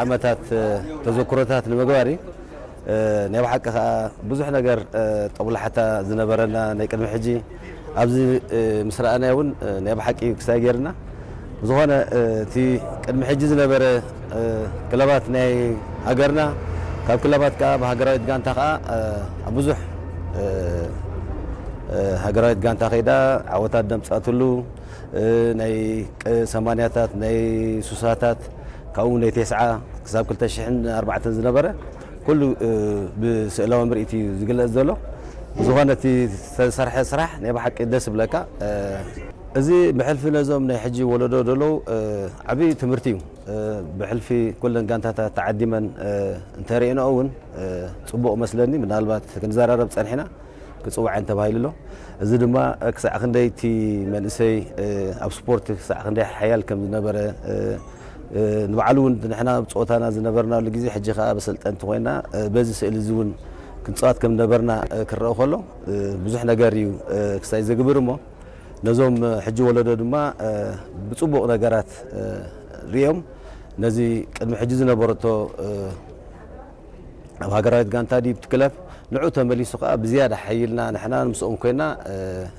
ዓመታት ተዘክሮታት ንምግባር እዩ። ናይ ብሓቂ ከዓ ብዙሕ ነገር ጠብላሕታ ዝነበረና ናይ ቅድሚ ሕጂ ኣብዚ ምስ ረኣናዮ እውን ናይ ብሓቂ ክሳይ ገይርና። ብዝኾነ እቲ ቅድሚ ሕጂ ዝነበረ ክለባት ናይ ሃገርና ካብ ክለባት ከዓ ብሃገራዊት ጋንታ ከዓ ኣብ ብዙሕ ሃገራዊት ጋንታ ከይዳ ዓወታት ደምፃትሉ ናይ ሰማንያታት ናይ ሱሳታት ካብኡ ናይ ቴስዓ ክሳብ ክልተ ሽሕን ኣርባዕተን ዝነበረ ኩሉ ብስእላዊ ምርኢት እዩ ዝግለጽ ዘሎ። ብዝኾነ እቲ ዝተሰርሐ ስራሕ ናይ ብሓቂ ደስ ይብለካ። እዚ ብሕልፊ ነዞም ናይ ሕጂ ወለዶ ዘለዉ ዓብዪ ትምህርቲ እዩ። ብሕልፊ ኩለን ጋንታታት ተዓዲመን እንተርእየንኦ እውን ፅቡቕ መስለኒ። ምናልባት ክንዘራረብ ፀኒሕና ክፅውዐን ተባሂሉ ኣሎ። እዚ ድማ ክሳዕ ክንደይ እቲ መንእሰይ ኣብ ስፖርት ክሳዕ ክንደይ ሓያል ከም ዝነበረ ንባዕሉ እውን ንሕና ኣብ ፀወታና ዝነበርናሉ ግዜ ሕጂ ከዓ በሰልጠንቲ ኮይና በዚ ስእሊ እዚ እውን ክንፃወት ከም ነበርና ክረአ ከሎ ብዙሕ ነገር እዩ ክሳይ ዘግብር እሞ ነዞም ሕጂ ወለዶ ድማ ብፅቡቕ ነገራት ሪኦም ነዚ ቅድሚ ሕጂ ዝነበረቶ ኣብ ሃገራዊት ጋንታ ድዩ እቲ ክለብ ንዑ ተመሊሱ ከዓ ብዝያዳ ሓይልና ንሕና ምስኦም ኮይና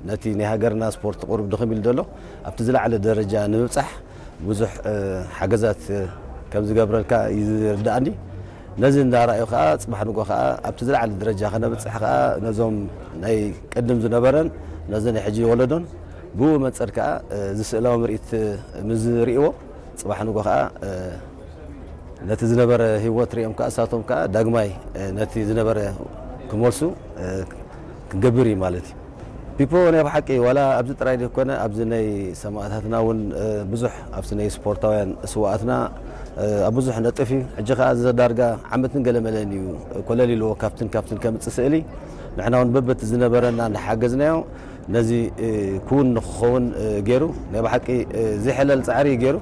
ነቲ ናይ ሃገርና ስፖርት ቁሩብ ድኽም ኢሉ ዘሎ ኣብቲ ዝለዓለ ደረጃ ንምብፃሕ ብዙሕ ሓገዛት ከም ዝገብረልካ እዩ ዝርዳእኒ። ነዚ እንዳረኣዩ ከዓ ፅባሕ ንጎ ከዓ ኣብቲ ዝለዓለ ደረጃ ከነብፅሕ ከዓ ነዞም ናይ ቅድም ዝነበረን ነዚ ናይ ሕጂ ወለዶን ብኡ መንፅር ከዓ እዚ ስእላዊ ምርኢት ምስ ዝርእይዎ ፅባሕ ንጎ ከዓ ነቲ ዝነበረ ህይወት ሪኦም ከዓ እሳቶም ከዓ ዳግማይ ነቲ ዝነበረ ክመልሱ ክንገብር እዩ ማለት እዩ። ፒፖ ናይ ብሓቂ ዋላ ኣብዚ ጥራይ ዘይኮነ ኣብዚ ናይ ሰማእታትና እውን ብዙሕ ኣብቲ ናይ ስፖርታውያን ስዋኣትና ኣብ ብዙሕ ነጥፍ እዩ። ሕጂ ከዓ እዚ ዳርጋ ዓመትን ገለመለን እዩ ኮለል ኢልዎ ካብትን ካብትን ከምፅእ ስእሊ ንሕና እውን በበቲ ዝነበረና እናሓገዝናዮ ነዚ ክውን ንክኸውን ገይሩ ናይ ብሓቂ ዘይሕለል ፃዕሪ እዩ ገይሩ።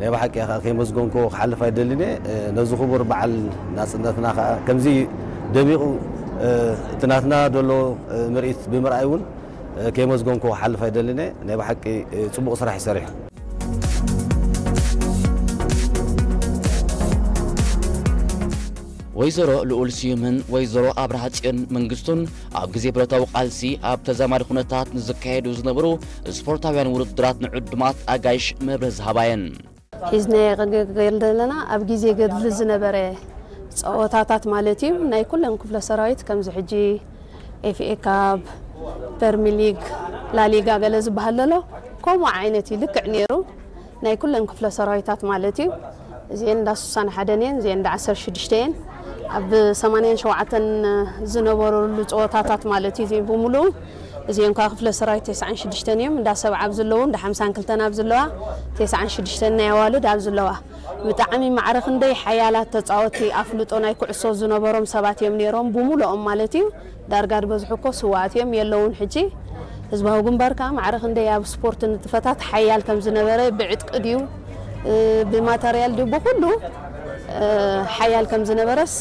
ናይ ብሓቂ ከዓ ከይመስገንኩ ክሓልፍ ኣይደልን እየ። ነዚ ክቡር በዓል ናፅነትና ከዓ ከምዚ ደሚቑ እቲ ናትና ዘሎ ምርኢት ብምርኣይ እውን ከይመስገንኩ ክሓልፍ ኣይደልን እየ። ናይ ብሓቂ ፅቡቕ ስራሕ ይሰርሑ። ወይዘሮ ልኡል ስዩምን ወይዘሮ ኣብርሃ ጽዮን መንግስቱን ኣብ ግዜ ብረታዊ ቃልሲ ኣብ ተዛማዲ ኩነታት ንዝካየዱ ዝነበሩ ስፖርታውያን ውድድራት ንዕዱማት ኣጋይሽ መብርህ ዝሃባ እየን። ሒዝናዮ ክንገል ዘለና ኣብ ግዜ ገድሊ ዝነበረ ፀወታታት ማለት እዩ። ናይ ኩለን ክፍለ ሰራዊት ከምዚ ሕጂ ኤፍኤ ካፕ፣ ፕሪሚየር ሊግ፣ ላሊጋ ገለ ዝበሃል ዘሎ ከምኡ ዓይነት እዩ ልክዕ ነይሩ። ናይ ኩለን ክፍለ ሰራዊታት ማለት እዩ። እዚአን እንዳ ሱሳን ሓደን እየን፣ እዚአን እንዳ ዓሰርተ ሽዱሽተ እየን። ኣብ ሰማንያን ሸውዓተን ዝነበረሉ ፀወታታት ማለት እዩ። እዚአን ብምሉኡ እዚአን ከዓ ክፍለ ሰራዊት ተስዓን ሽዱሽተን እዮም። እንዳ ሰብዓ ኣብ ዘለዉ፣ እንዳ ሓምሳን ክልተን ኣብ ዘለዋ፣ ተስዓን ሽዱሽተን ናይ ኣዋልድ ኣብ ዘለዋ። ብጣዕሚ ማዕረ ክንደይ ሓያላት ተፃወቲ ኣፍልጦ ናይ ኩዕሶ ዝነበሮም ሰባት እዮም ነይሮም፣ ብምሉኦም ማለት እዩ። ዳርጋ ዝበዝሑ እኮ ስውኣት እዮም፣ የለውን ሕጂ። ህዝባዊ ግንባር ከዓ ማዕረ ክንደይ ኣብ ስፖርት ንጥፈታት ሓያል ከም ዝነበረ ብዕጥቂ ድዩ ብማተርያል ድዩ ብኩሉ ሓያል ከም ዝነበረስ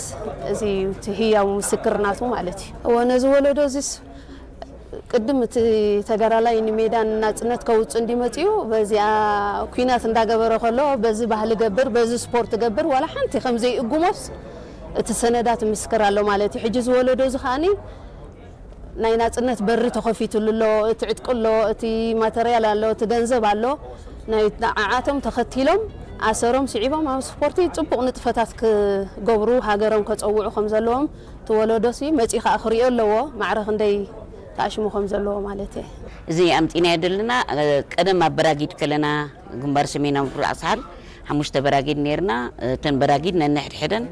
እዚ እቲ ህያው ምስክር ናቱ ማለት እዩ። እወ ነዚ ወለዶ እዚስ ቅድም እቲ ተጋዳላይ ንሜዳ ንናፅነት ከውፅእ እንዲመፅኡ በዚኣ ኩናት እንዳገበረ ከሎ በዚ ባህሊ ገብር በዚ ስፖርት ገብር ዋላ ሓንቲ ከም ዘይእጉሞስ እቲ ሰነዳት ምስክር ኣሎ ማለት እዩ። ሕጂ ዝወለዶ እዚ ከዓኒ ናይ ናፅነት በሪ ተኸፊትሉ ኣሎ፣ እቲ ዕጥቂ ኣሎ፣ እቲ ማተርያል ኣሎ፣ እቲ ገንዘብ ኣሎ። ናይ ንዓዓቶም ተኸቲሎም ኣሰሮም ስዒቦም ኣብ ስፖርቲ ፅቡቕ ንጥፈታት ክገብሩ ሃገሮም ከፀውዑ ከም ዘለዎም እቲ ወለዶሲ መፂኡ ከዓ ክሪኦ ኣለዎ። ማዕረ ክንደይ ተኣሽሙ ከም ዘለዎ ማለት እየ። እዚ ኣምፂናዮ ዘለና ቀደም ኣብ በራጊድ ከለና ግንባር ሰሜናዊ ምብራቕ ሳሕል ሓሙሽተ በራጊድ ነይርና። እተን በራጊድ ነንሕድሕደን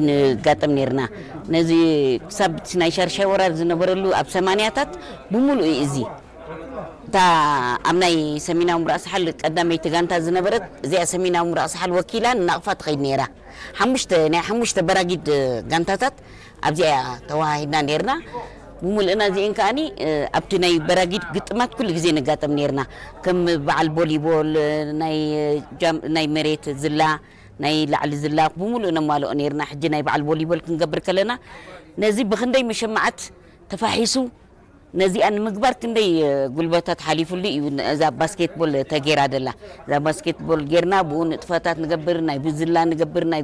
ንጋጠም ነይርና። ነዚ ክሳብ እቲ ናይ ሻርሻይ ወራር ዝነበረሉ ኣብ ሰማንያታት ብምሉእ እዩ እዚ። እታ ኣብ ናይ ሰሜናዊ ምብራቕ ሳሕል ቀዳመይቲ ጋንታ ዝነበረት እዚኣ ሰሜናዊ ምብራቕ ሳሕል ወኪላ ንናቕፋ ትኸይድ ነይራ። ሓሙሽተ ናይ ሓሙሽተ በራጊድ ጋንታታት ኣብዚኣ ተወሃሂድና ነይርና። ብምልእና እዚአን ከዓኒ ኣብቲ ናይ በራጊድ ግጥማት ኩሉ ግዜ ንጋጠም ነይርና። ከም በዓል ቦሊቦል፣ ናይ ጃም- ናይ መሬት ዝላ፣ ናይ ላዕሊ ዝላ ብምሉእ ነማልኦ ነይርና። ሕጂ ናይ በዓል ቦሊቦል ክንገብር ከለና ነዚ ብክንደይ መሸማዓት ተፋሒሱ ነዚኣ ንምግባር ክንደይ ጉልበታት ሓሊፉሉ እዩ። እዛ ባስኬትቦል ተጌራ ደላ እዛ ባስኬትቦል ጌርና ብኡ ንጥፈታት ንገብር፣ ናይ ብዝላ ንገብር፣ ናይ